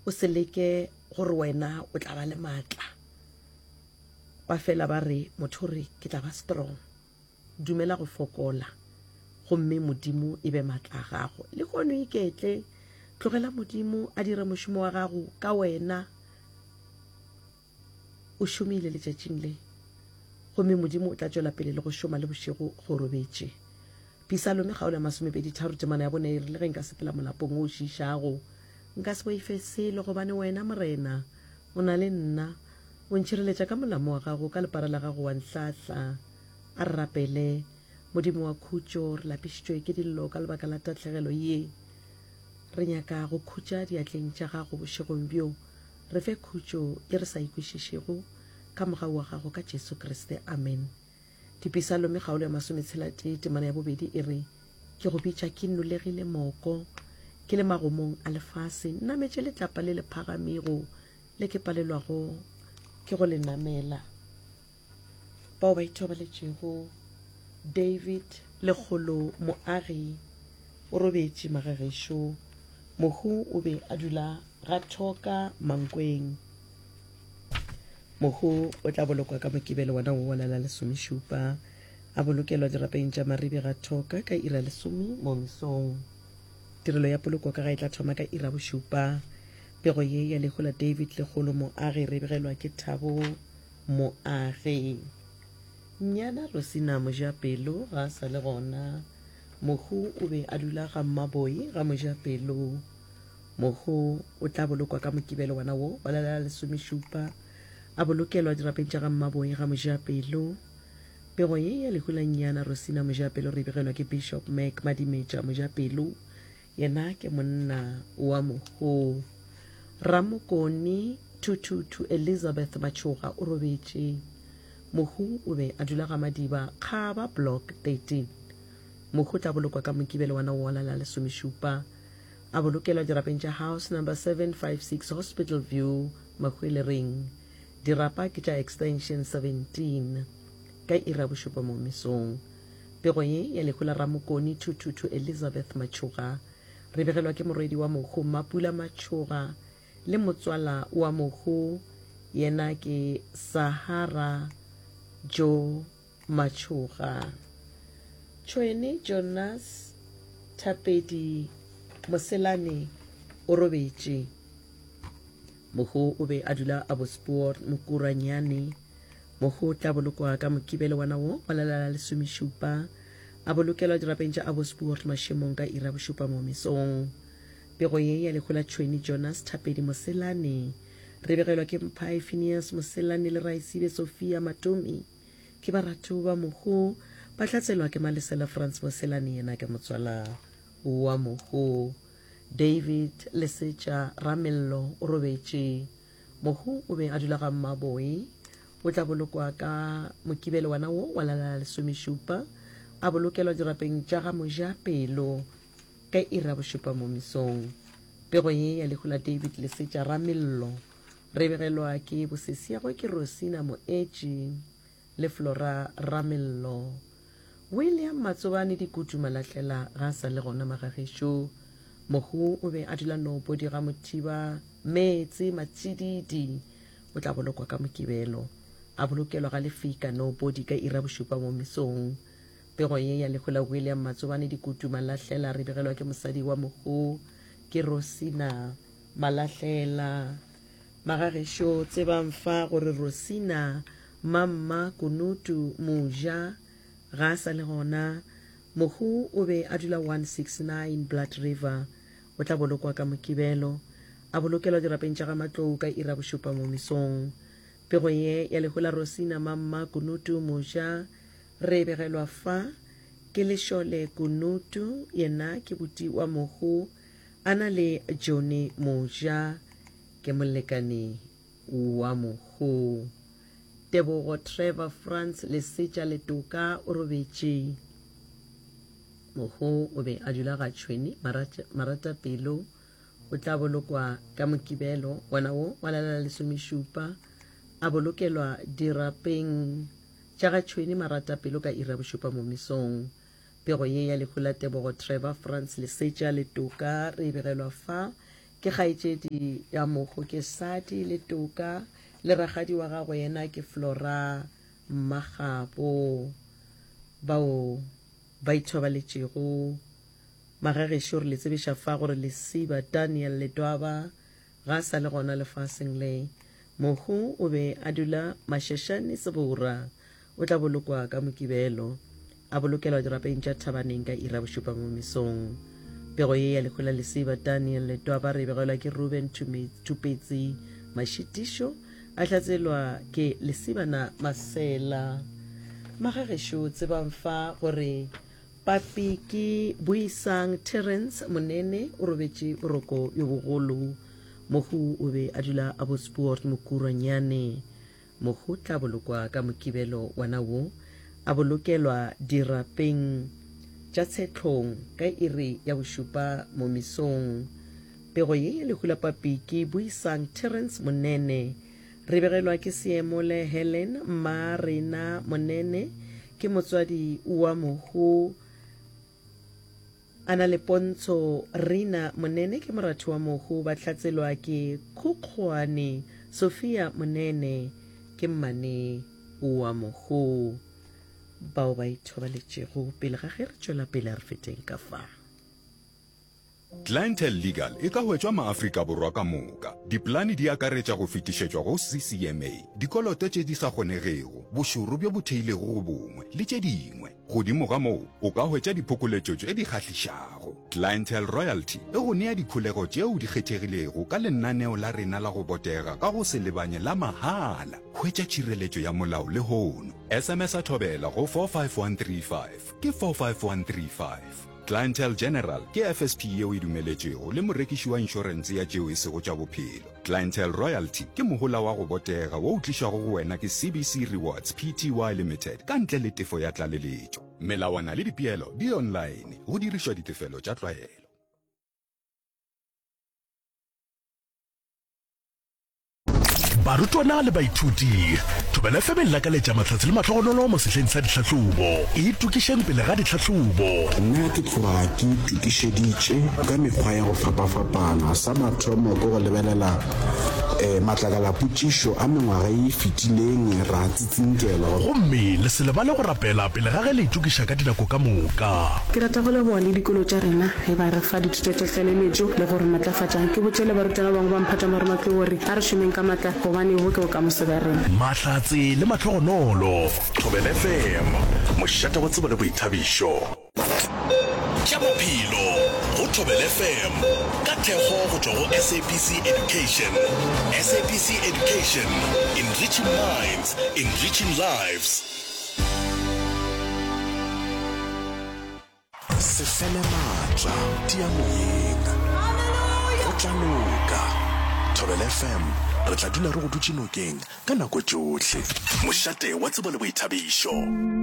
O se leke gore wena o tla ba le maatla. Ba fela ba re, motho o re, ke tla ba strong. Dumela go fokola, gomme Modimo e be maatla a gago. Lehono iketle, tlogela Modimo a dire mošomo wa gago ka wena. O šomile letšatšing le, gomme Modimo o tla tšwela pele le go šoma le bošego ge o robetše. Pisalome kgaolo ya masomepeditharo temana ya bone e re, Le ge nka sepela molapong wo o šiišago, nka se boife selo, gobane wena, Morena, o na le nna. O ntšhireletša ka molamo wa gago, ka lepara la gago wa nhlahla. A re rapele. Modimo wa khutšo, re lapišitšwe ke dillo ka lebaka la tahlegelo ye. Re nyaka go khutša diatleng tša gago bošegong bjo. Re fe khutšo ye re sa e kwešišego, ka mogau wa gago ka Jesu Kriste. Amen. Dipisalome kgaolo ya masometshela-tee temana ya bobedi e re, Ke go bitša ke nolegile moko, ke le magomong a lefase, nnametše letlapa le le phagamego le ke palelwago ke go le namela. Bao ba ithobaletšego David Lekgolo Moagi o robetše magagešo. Mohu o be a dula ga Thoka Mankweng. Mohu o tla bolokwa ka Mokibelo wona wo wa la la lesomešupa, a bolokelwa dirapeng tša Maribe ga Thoka ka ira lesome mo mesong. Tirelo ya poloko ka ga e tla thoma ka ira bošupa. Pego ye ya lehu la David Lekgolo Moagi re begelwa ke Thabo Moagi. Nnyana Rosina Mojapelo ga a sa le gona. Mohu o be a dula ga Mmaboi ga Mojapelo. Mohu o tla bolokwa ka Mokibelo wona wo wa la la lesomešupa, a bolokelwa dirapeng tša ga Mmaboi ga Mojapelo. Pego ye ya lehu la Nnyana Rosina Mojapelo re e begelwa ke Bishop Mac Madimetša Mojapelo. Yena ke monna wa mohu. Ramokone Thuthuthu Elizabeth Matšhoga o robetše. Mohu o be a dula ga Madiba, Kgaba Block 13. Mohu o tla bolokwa ka Mokibelo wa Nawola la lesomešupa. A bolokelwa dirapeng tša House Number 756 Hospital View, Mahwelereng. Dirapa ke tša Extension 17. Ka iri ya bošupa mo mesong. Pego ye ya lehu la Ramokone Thuthuthu Elizabeth Matšhoga re begelwa ke morwedi wa mohu Mapula Matšhoga le motswala wa mohu yena ke Sahara Joe Matšhoga. Tšhwene Jonas Thapedi Moselane o robetše. Mohu o be a dula Abbotspoort Mokuranyane. Mohu o tla bolokwa ka Mokibelo wona wo wa la la lesomešupa, a bolokelwa dirapeng tša Abbotspoort mašemong ka iri ya bošupa mo mesong. Pego ye ya lehu la Tšhweni Jonas Thapedi Moselane re begelwa ke Mphai Phineas Moselane le Raesibe Sophia Matomi. Ke baratho ba mohu, ba hlatselwa ke Malesela Frans Moselane yena ke motswala wa mohu. David Lesetša Ramello o robetše. Mohu o be a dula ga Mmaboi. O tla bolokwa ka Mokibelo wona wo wa la la lesomešupa, a bolokelwa dirapeng tša ga Mojapelo ka iri ya bošupa mo mesong. Pego ye ya lehu la David Lesetša Ramello re begelwa ke bosesiagwe ke Rosina Moetši le Flora Ramello. William Matsobane Dikutu Malahlela ga a sa le gona magagešo. Mohu o be a dula Nobodi ga Mothiba Meetse Matšididi. O tla bolokwa ka Mokibelo. A bolokelwa ga Lefika Nobodi ka iri ya bošupa mo mesong. Pego ye ya lehu la William Matsobane Dikutu Malahlela re begelwa ke mosadi wa mohu ke Rosina Malahlela. Magagešo tsebang fa gore Rosina Mamma Kunutu Moja ga a sa le gona. Mohu o be a dula 169 Blood River. O tla bolokwa ka Mokibelo. A bolokelwa dirapeng tša ga Matlou ka iri ya bošupa mo mesong. Pego ye ya lehu la Rosina Mamma Kunutu Moja re e begelwa fa ke Lešole Kunutu, yena ke buti wa mohu a na le Johnny Moja ke molekane wa mohu. Tebogo Trevor Frans Lesetša Letoka o robetše. Mohu o be a dula ga Tšhweni Maratapelo. O tla bolokwa ka Mokibelo wona wo wa la la lesomešupa, a bolokelwa dirapeng tša ga Tšhweni Maratapelo ka iri ya bošupa mo mesong. Pego ye ya lehu la Tebogo Trevor Frans Lesetša Letoka re e begelwa fa. Ke kgaetšedi ya mohu ke Sadi le Toka le rakgadi wa gagwe yena ke Flora Mmakgabo bao ba ithobaletšego. Magagešo re le tsebiša fa gore Lesiba Daniel Ledwaba ga a sa le gona lefaseng le. Mohu o be a dula Mashashane Sebora. O tla bolokwa ka Mokibelo, a bolokelwa dirapeng tša Thabaneng ka iri ya bošupa mo mesong. Pego ye ya lehu la Lesiba Daniel Letwaba re e begelwa ke Ruben Thupetsi Mashitišo, a hlatselwa ke Lesibana Masela. Magagešo tsebang fa gore Papi ke Buisang Terence Monene o robetše boroko bjo bogolo. Mohu o be a dula Abbotspoort Mokurwanyane. Mohu tla bolokwa ka Mokibelo wona wo, a bolokelwa dirapeng tša Tshetlhong ka iri ya bošupa mo mesong. Pego ye ya lehu la Papi ke Buisang Terence Monene. Re begelwa ke Seemole Helen Mmarena Monene, ke motswadi wa mohu. A na le pontsho Rina Monene ke moratho wa mohu ba hlatselwa ke Khukgwane Sophia Monene ke mmane wa mohu bao ba ithobaletšego pele ga ge re tšwela pele a re feteng ka fa. Clientele Legal e ka hwetšwa maAfrika Borwa ka moka. Dipolane di akaretša go fetišetšwa go CCMA, dikoloto tše di sa kgonegego, bošoro bjo bo theilego go bongwe, le tše dingwe. Godimo ga moo, o ka hwetša diphokoletšo tše di kgahlišago. Clientele Royalty e go nea dikholego tšeo di kgethegilego ka lenaneo la rena la go botega ka go se lebanye la mahala. Hwetša tšhireletšo ya molao lehono. SMS-a Thobela go 45135. Ke 45135. Clientele General ke FSP yeo e dumeletšwego le morekiši wa inšorense ya tšeo e sego tša bophelo. Clientele Royalty ke mohola wa go botega wo o tlišwago go wena ke CBC Rewards Pty Limited ka ntle le tefo ya tlaleletšo. Melawana le dipeelo di online go dirišwa ditefelo tša tlwaelo. Barutwana le baithuti, Thobela FM e lakaletša mahlatse le mahlogonolo mo sehleng sa ditlhahlobo. Itokišeng pele ga ditlhahlobo. Nna ke tloga ke itokišeditše ka mekgwa ya go fapafapana. Sa mathomo ke go lebelela matlakalapotšišo a mengwaga ye e fetileng ra tsinkelwa. Gomme le se lebale go rapela pele ga ge le itokiša ka dinako ka moka. Ke rata go leboga le dikolo tša rena ge ba re fa dithuto tša tlaleletšo le go re matlafatša. Ke botše le barutwana ba bangwe ba mphatša marematlou gore a re šomeng ka matla gobane bo ke bokamoso bja rena. Mahlatse le mahlogonolo. Thobela FM, mošate wa tsebo le boithabišo. Tša Bophelo go Thobela FM ka thekgo go tšwa go SABC Education. SABC Education, enriching minds, enriching lives. Se fele maatla, tia moyeng. Go tla loka. Thobela FM, re tla dula re go dutše nokeng ka nako tšohle. Mošate wa tsebo le boithabišo.